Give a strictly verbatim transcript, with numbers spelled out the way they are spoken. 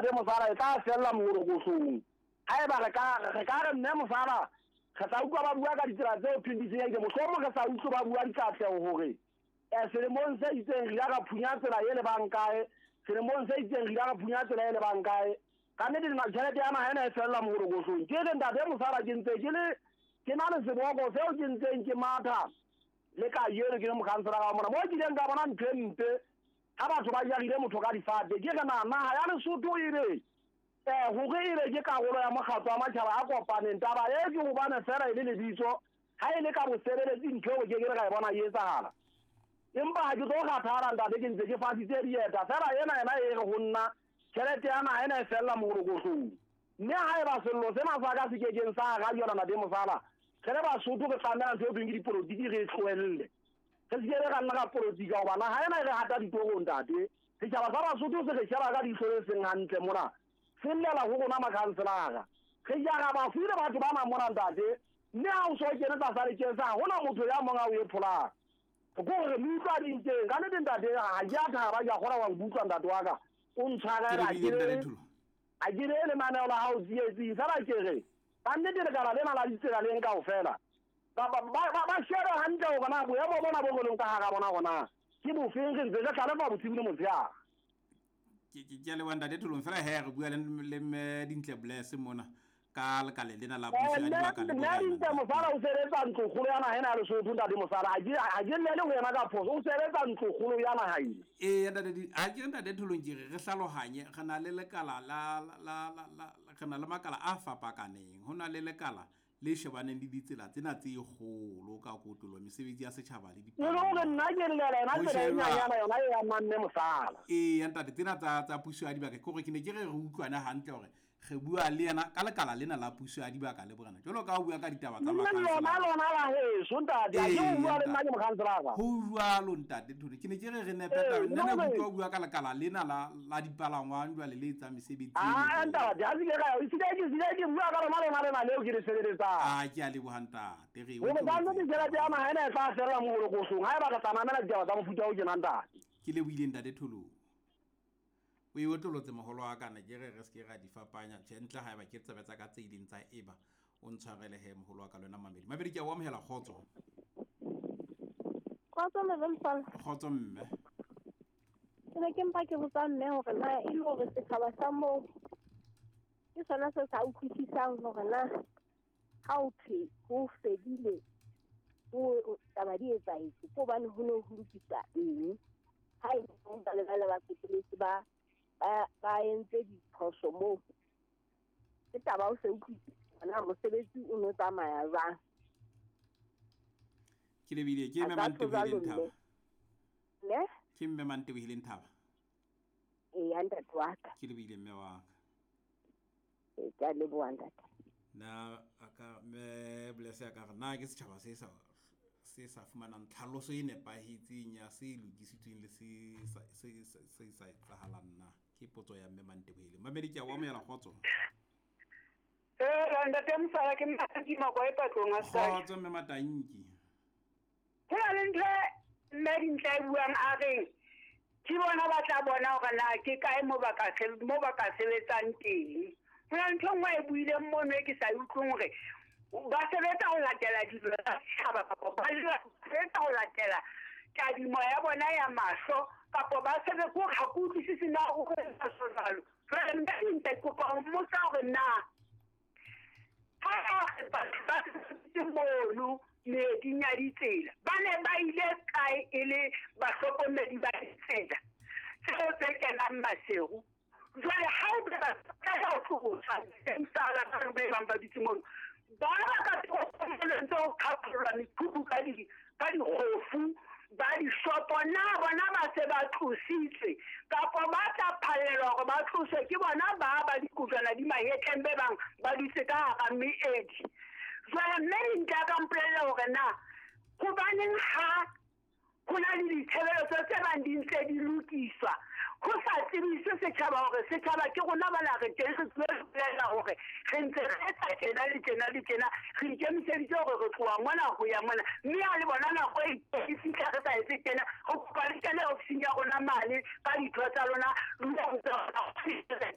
ntate Mosala e tla fella morokohlong. Haeba re ka re ka re mme Mosala re tla utlwa ba bua ka ditsela tseo thweng di senyehile, mohlomong re sa utlwe ba bua dikatleho hore eh selemong se itseng re ile ra phunya tsela e lebang kae, selemong se itseng re ile ra phunya tsela e lebang kae. Ka nnete tjhelete ya naha ena e fella morokohlong. Ke re ntate Mosala ke ntse ke le ke na le seboko seo ke ntseng ke matha le kajeno ke le mokhanselara wa mona mo ke ileng ka bona ntho e mpe ha batho ba jarile motho ka difate. Ke re na naha ya Lesotho e be eh hore e be ke karolo ya mokgatlo wa matjhaba a kopaneng, taba e ke hobane fela e le lebitso, ha e le ka bosebeletsi ntho eo ke ke re ka e bona e etsahala. Empa ha ke tlo kgathala ntate, ke ntse ke fasitse dieta fela ena yena e re ho nna tjhelete ya naha ena e fella morokohlong. Mme haeba sello sena sa ka se kekeng sa arajwa ntate Mosala, re le Basotho re tlameha ntho e thweng ke dipolotiki re e tlohelle. Re se ke ra nna ka politika hoba naha ena e re hata ditorong ntate. Setjhaba sa Basotho se re sheba ka leihlo le seng hantle mona, se llela ho rona makhanselara. Re jara bafu le batho bana mona ntate, mme ha o so kene tlasa lekese ha hona motho ya mong a o e pholang. Ke hore re utlwa dinteng ka nnete ntate, ha ke a thaba, ke a kgona wa nkutlwa ntate wa ka. O ntshwarela Ke lebile ntate Tholo. A ke re lenaneo la hao tsietsing fela ke re ka nnete lekala lena la ditsela leng kaofela ba ba ba ba shebe hantle hore na boemo bona bo re leng ka hara bona hore na ke bofeng, re ntse re hlalefa bosiu le motshehare. Ke ke ke a leboha ntate Tholong. Fela he re bua le le mme Dintle Bless mona ka lekala lena la puso ya dibaka le Mme borena. Dintle Mosala o sebetsa ntlokgolo ya naha ena ya Lesotho ntate Mosala, ha ke ha ke llele ho yena ka phoso, o sebetsa ntlokgolo ya naha ena. Ee ntate Di, ha ke re ntate Tholong ke re re hlalohanye, re na le lekala la la la la re na le makala a fapakaneng. Ho na le lekala le shebaneng le ditsela tsena tse kgolo ka kotlolo, mesebetsi ya setjhaba le E le hore nna ke llela yona Ho tsela e sheba- nyanyana yona e amang mme Mosala. Ee ntate, tsena tsa tsa puso ya dibaka ke hore ke ne ke re re utlwane hantle hore re bua le yena ka lekala lena la puso ya dibaka le borena. Jwalo ka ha o bua ka ditaba tsa Mme lona makhanselara. lona la heso ntate, ha ke Ee, o bua le nna ntate. ke mokhanselara. Ho jwalo ntate Tholo, ke ne ke re re nepe Ee, taba. Nna ne ke le hore- utlwa o bua ka lekala lena la la dipalangwang jwale le etsang mesebetsi e Ah meholo. ntate, ha se ke ka se ke se ke bua ka lona lona lena leo ke le sebeletsang. Ah ke a leboha ntate, re Hore ka nnete utlwetse. tjhelete ya naha ena e tla fella morokohlong haeba re tla mamela ditaba tsa mofuta o tjena ntate. Ke lebohile ntate Tholo. O e otlolotse moholo wa ka, ne ke re re se ke ra di fapanya. Tjhe, ntle haeba ke tsebe tsa ka tse ileng tsa eba o ntshwarele he moholo wa ka le wena mamedi. Mamedi ke a o amohela, kgotso. Kgotso mme Mosala. Kgotso mme. Ke ne ke mpa ke botsa mme hore na e le hore setjhaba sa moo ke sona se sa utlwisisang hore na ha ho thwe ho fedile ho taba di etsahetse ke hobane ho ne ho lokiswa eng, ha e le ba le ba le ba qetelletse ba ba ba entse diphoso moo. Ke taba o se utlwisise na mosebetsi o no tsamaya jwang. Ke lebile ke A mme ka tjho jwalo Mantebohileng Thaba. mme. Ne? Ke mme Mantebohileng Thaba. Eya ntate wa ka. Ke lebile mme wa ka. Ee, ke a leboha ntate. Na a ka mme Bless ya ka re na ke setjhaba se sa se sa fumanang tlhaloso e nepahetseng ya se lokisitsweng le se sa se se se sa etsahalang na. Ke potso ya mme Mantebohileng. Mamedi ke a o amohela, kgotso. Ee, ntate Mosala ke Matanki Makwa e patlong a Sky. Kgotso mme Matanki. Ho na le ntho e mme Dintle e buang a reng ke bona ba tla bona hore na ke kae mo ba ka se- mo ba ka sebetsang teng. Ho na le ntho e nngwe e buileng mono e ke sa e utlweng hore ba sebetsa ho latela dilo tsa setjhaba kapa ba sebetsa ho latela tadimo ya bona ya mahlo kapa ba sebetsa hore ha ke utlwisise na o re jwalo. Jwale mme Dintle ke kopa ho mmotsa hore na ha batho ba sebeditse mono meeding ya ditsela ba ne ba ile kae e le bahlokomedi ba ditsela tseo tse kenang Maseru. Jwale ha o be ba ka ho tlosa msala ba be bang ba dutse mono ba ba ka toropong ntse ho qhaqhollwa mekhukhu ka di ka dikgofu ba dishopo, na bona ba se ba tlositswe kapa ba tla phallelwa hore ba tloswe ke bona ba ba dikojwana di mahetleng be bang ba dutse ka hara meedi. Jwale mme Dintle a ka mpolella hore na hobaneng ha ho na le ditshebeletso tse bang di ntse di lokiswa ho sa tsebiswe setjhaba hore setjhaba ke rona bana re teng re tsebe ho bolela hore re ntse re etsa tjena le tjena le tjena, re ikemiseditse hore re tloha mona ho ya mona, mme ha le bona nako e e fihla re sa etse tjena, re kopa le kene ofising ya rona mane ka ditho tsa lona, le utlwe hore